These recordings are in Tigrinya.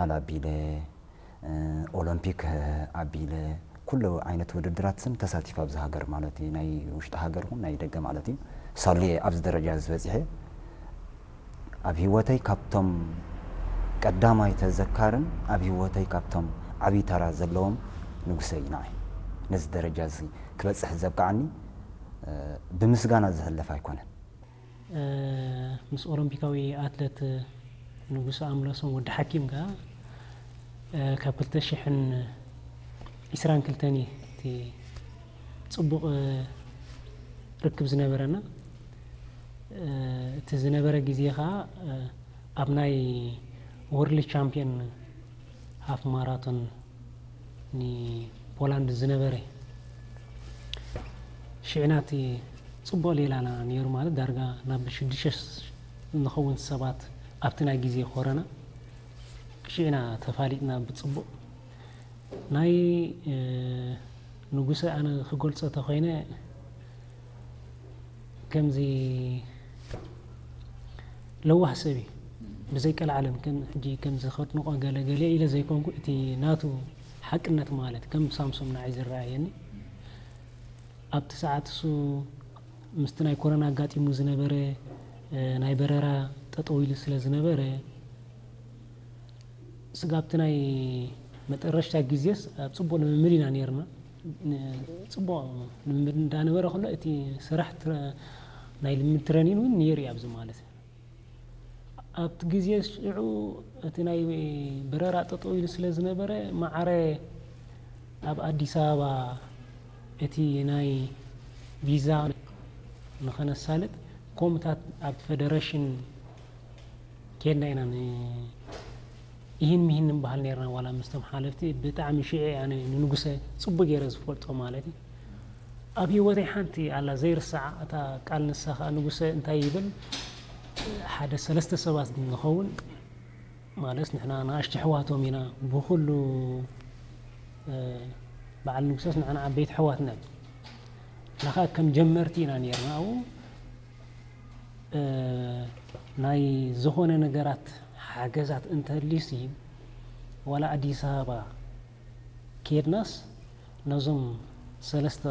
ኣቢለ፣ ኦሎምፒክ ኣቢለ፣ ኩሉ ዓይነት ውድድራት ስም ተሳቲፍ ኣብዚ ሃገር ማለት እዩ። ናይ ውሽጢ ሃገር ይኹን ናይ ደገ ማለት እዩ። ሳሌ ኣብዚ ደረጃ ዝበፅሐ ኣብ ህይወተይ ካብቶም ቀዳማይ ተዘካርን ኣብ ህይወተይ ካብቶም ዓብዪ ተራ ዘለዎም ንጉሰ እዩ ንዓይ። ነዚ ደረጃ እዚ ክበፅሕ ዘብቃዓኒ ብምስጋና ዝሕለፍ ኣይኮነን። ምስ ኦሎምፒካዊ ኣትለት ንጉሰ ኣምለሶም ወዲ ሓኪም ከኣ ካብ ክልተ ሽሕን ዕስራን ክልተን እዩ እቲ ፅቡቕ ርክብ ዝነበረና። እቲ ዝነበረ ግዜ ከኣ ኣብ ናይ ወርልድ ቻምፒዮን ሃፍ ማራቶን ንፖላንድ ዝነበረ ሽዕና እቲ ፅቡቕ ሌላና ነይሩ ማለት ዳርጋ ናብ ሽዱሽተ ንኸውን ሰባት ኣብቲ ናይ ግዜ ኮረና ሽዕና ተፋሊጥና ብፅቡቕ ናይ ንጉሰ ኣነ ክገልፆ ተኮይነ ከምዚ ለዋህ ሰብ እዩ ብዘይ ቀልዓለም ከም ሕጂ ከምዚ ከድንቆ ገለ ገለ ኢለ ዘይኮንኩ እቲ ናቱ ሓቅነት ማለት ከም ሳምሶም ንዓይ ዝረኣየኒ ኣብቲ ሰዓት እሱ ምስቲ ናይ ኮረና ኣጋጢሙ ዝነበረ ናይ በረራ ጠጠው ኢሉ ስለ ዝነበረ ስጋብቲ ናይ መጠረሽታ ግዜስ ኣብ ፅቡቅ ልምምድ ኢና ነርና። ፅቡቅ ልምምድ እንዳነበረ ከሎ እቲ ስራሕ ናይ ልምምድ ትረኒን እውን ነይሩ እዩ ኣብዚ ማለት ኣብቲ ግዜ ሽዑ እቲ ናይ በረራ ጠጠው ኢሉ ስለ ዝነበረ ማዕረ ኣብ ኣዲስ ኣበባ እቲ ናይ ቪዛ ንኸነሳልጥ ኮምታት ኣብ ፌደሬሽን ኬድና ኢና ይህን ምሂን ንበሃል ነርና ዋላ ምስቶም ሓለፍቲ ብጣዕሚ ሽዑ ኣነ ንንጉሰ ፅቡቅ ገይረ ዝፈልጦ ማለት እዩ ኣብ ህይወተይ ሓንቲ ኣላ ዘይርሳዓ እታ ቃል ንሳ ከዓ ንጉሰ እንታይ ይብል ሓደ ሰለስተ ሰባት ንኸውን ማለት ንሕና ንኣሽቱ ኣሕዋቶም ኢና ብኩሉ በዓል ንጉሰስ ንዓና ዓበይቲ ኣሕዋትና ኢና ከዓ ከም ጀመርቲ ኢና ነርና ኣብኡ ናይ ዝኾነ ነገራት ሓገዛት እንተልዩሲ ዋላ ኣዲስ ኣበባ ከድናስ ነዞም ሰለስተ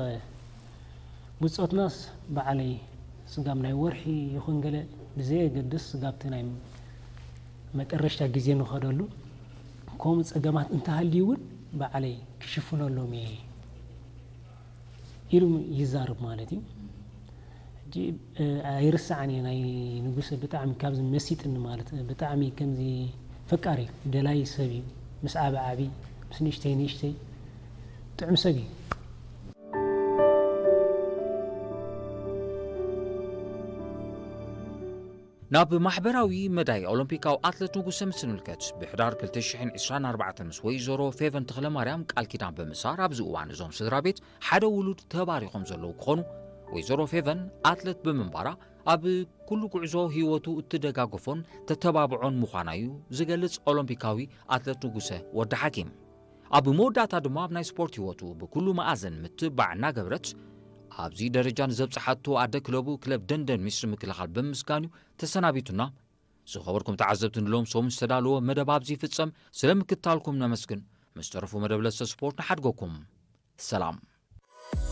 ብፆትናስ ባዕለይ ስጋብ ናይ ወርሒ ይኹን ገለ ብዘየገድስ ስጋብቲ ናይ መጠረሽታ ግዜ ንኸደሉ ከምኡ ፀገማት እንተሃልዩ እውን ባዕለይ ክሽፍነሎም እየ ኢሉ ይዛረብ ማለት እዩ። ሕጂ ኣይርስዓን እየ ናይ ንጉሰ ብጣዕሚ ካብዚ መሲጥኒ ማለት ብጣዕሚ ከምዚ ፈቃሪ ደላይ ሰብ እዩ። ምስ ዓቢ ዓቢ ምስ ንእሽተይ ንእሽተይ ጥዑም ሰብ እዩ። ናብ ማሕበራዊ መዳይ ኦሎምፒካዊ ኣትለት ንጉሰ ምስ ንምልከት ብሕዳር ክልተ ሽሕን ዕስራን ኣርባዕተን ምስ ወይዘሮ ፌቨን ተኽለማርያም ቃል ኪዳን ብምሳር ኣብዚ እዋን እዞም ስድራ ቤት ሓደ ውሉድ ተባሪኾም ዘለዉ ክኾኑ ወይዘሮ ፌቨን ኣትለት ብምንባራ ኣብ ኩሉ ጉዕዞ ህይወቱ እትደጋግፎን ተተባብዖን ምዃና እዩ ዝገልጽ ኦሎምፒካዊ ኣትለት ንጉሰ ወዲ ሓኪም። ኣብ መወዳእታ ድማ ኣብ ናይ ስፖርት ህይወቱ ብኩሉ መኣዝን ምትብባዕ እናገበረት ኣብዚ ደረጃ ንዘብጽሓቶ ኣደ ክለቡ ክለብ ደንደን ሚኒስትሪ ምክልኻል ብምምስጋን እዩ ተሰናቢቱና። ዝኸበርኩም ተዓዘብቲ ንሎም ሰሙን ዝተዳለወ መደብ ኣብዚ ይፍጸም። ስለ ምክታልኩም ነመስግን። ምስ ተረፉ መደብ ለሰ ስፖርት ንሓድገኩም። ሰላም።